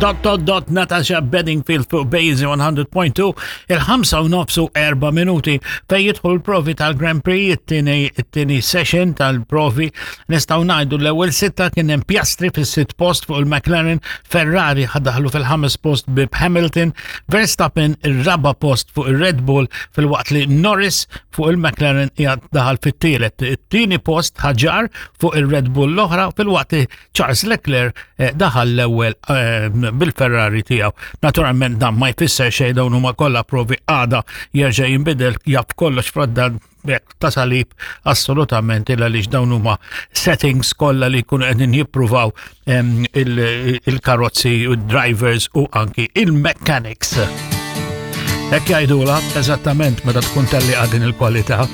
Dot dot dot Natasha Bedingfield fuq Bazy 100.2 il-5 u nofsu 4 minuti fej jidħlu l-provi tal-Grand Prix it-tieni session tal-provi nistgħu ngħidu l-ewwel sitta kien hemm Piastri fis-sitt post fuq il-McLaren, Ferrari ħadaħlu fil-ħames post bi Hamilton, Verstappen ir-raba post fuq ir-Red Bull filwaqt li Norris fuq il-McLaren qiegħed daħal fit-tielet. It-tieni post ħaġar fuq ir-Red Bull l-oħra filwaqt li Charles Leclerc eh, daħal l-ewwel eh, bil-Ferrari tiegħu. Naturalment dan ma jfisser xejn dawn huma kollha provi għada jerġa' jinbidel jaf kollox fradda ta' salib assolutament illa li dawn huma settings kollha li jkunu qegħdin jippruvaw il-karozzi u drivers u anki il-mechanics. Hekk jgħidula eżattament meta tkun telli din il-kwalità.